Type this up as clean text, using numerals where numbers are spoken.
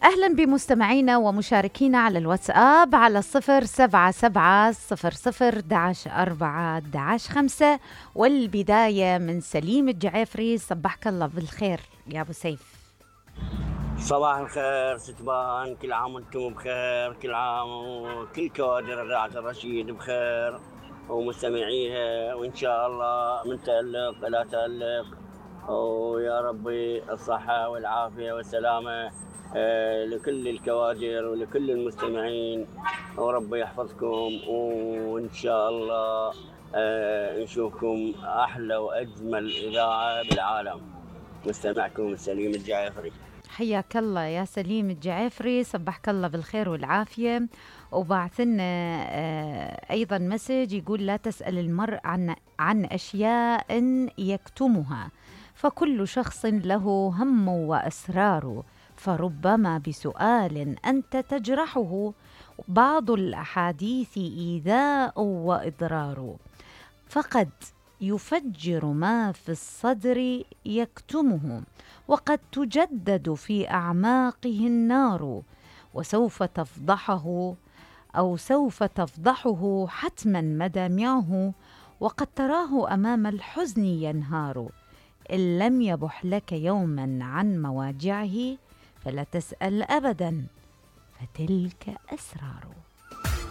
أهلا بمستمعينا ومشاركينا على الواتساب على 077 00 11 4 11 5. والبداية من سليم الجعيفري. صبحك الله بالخير يا أبو سيف. صباح الخير ستبان، كل عام وانتم بخير، كل عام وكل كوادر إذاعة الرشيد بخير ومستمعيها، وإن شاء الله من تألق إلى تألق، ويا ربي الصحة والعافية والسلامة لكل الكوادر ولكل المستمعين، وربي يحفظكم، وإن شاء الله نشوفكم أحلى وأجمل إذاعة بالعالم. مستمعكم سليم الجعيفري. حياك الله يا سليم الجعيفري، صبحك الله بالخير والعافية. وبعثنا أيضا مسج يقول: لا تسأل المرء عن أشياء يكتمها، فكل شخص له هم وأسرار، فربما بسؤال أنت تجرحه بعض الأحاديث إيذاء وإضرار، فقد يفجر ما في الصدر يكتمه، وقد تجدد في أعماقه النار، وسوف تفضحه حتما مدامعه، وقد تراه أمام الحزن ينهار. إن لم يبح لك يوما عن مواجعه فلا تسأل أبدا، فتلك أسرار.